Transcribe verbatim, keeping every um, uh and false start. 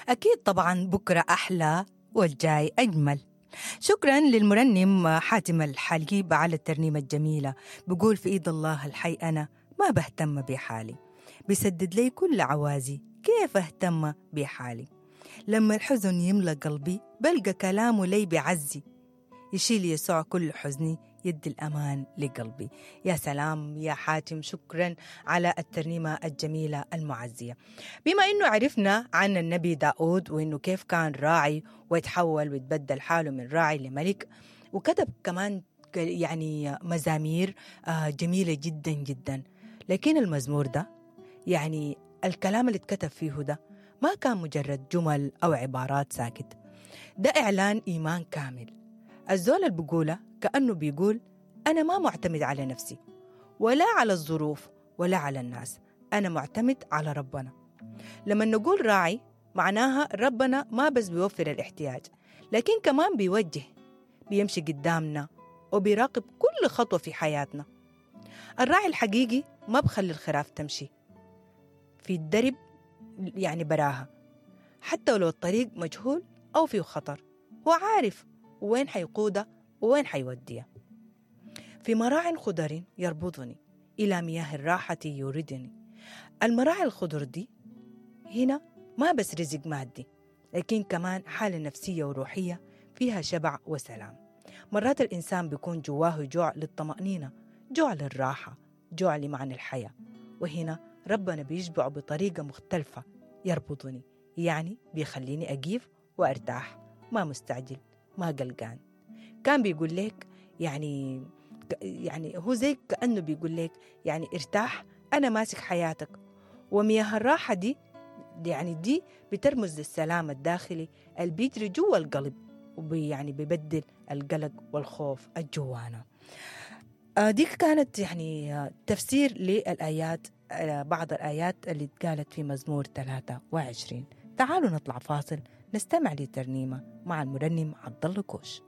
أكيد طبعا بكرة أحلى والجاي أجمل. شكرا للمرنم حاتم الحليب على الترنيمة الجميلة. بقول في إيد الله الحي أنا ما بهتم بحالي، بيسدد لي كل عوازي، كيف أهتم بحالي؟ لما الحزن يملأ قلبي بلقى كلامه لي بعزي، يشيل يسوع كل حزني، يدي الأمان لقلبي. يا سلام يا حاتم، شكرا على الترنيمة الجميلة المعزية. بما إنه عرفنا عن النبي داود وإنه كيف كان راعي ويتحول ويتبدل حاله من راعي لملك، وكتب كمان يعني مزامير جميلة جدا جدا، لكن المزمور ده يعني الكلام اللي اتكتب فيه ده ما كان مجرد جمل أو عبارات ساكت، ده إعلان إيمان كامل. الزول اللي بيقوله كأنه بيقول أنا ما معتمد على نفسي ولا على الظروف ولا على الناس، أنا معتمد على ربنا. لما نقول راعي معناها ربنا ما بس بيوفر الاحتياج، لكن كمان بيوجه، بيمشي قدامنا وبيراقب كل خطوة في حياتنا. الراعي الحقيقي ما بخلي الخراف تمشي في الدرب يعني براها، حتى ولو الطريق مجهول أو فيه خطر، هو عارف وين حيقودها وين حيوديها. في مراع خضر يربطني، إلى مياه الراحة يوردني. المراعي الخضر دي هنا ما بس رزق مادي، لكن كمان حالة نفسية وروحية فيها شبع وسلام. مرات الإنسان بيكون جواه جوع للطمأنينة، جوع للراحة، جوع لمعنى الحياة، وهنا ربنا بيشبعه بطريقة مختلفة. يربطني يعني بيخليني أقيف وأرتاح، ما مستعجل، ما قلقان. كان بيقول لك يعني يعني هو زي كأنه بيقول لك يعني ارتاح، أنا ماسك حياتك. ومياه الراحة دي يعني دي بترمز للسلام الداخلي اللي بيجري جوا القلب، ويعني بيبدل القلق والخوف الجوانا. دي كانت يعني تفسير للآيات، بعض الآيات اللي اتقالت في مزمور ثلاثة وعشرين. تعالوا نطلع فاصل نستمع لترنيمة مع المرنم عبد الله كوش.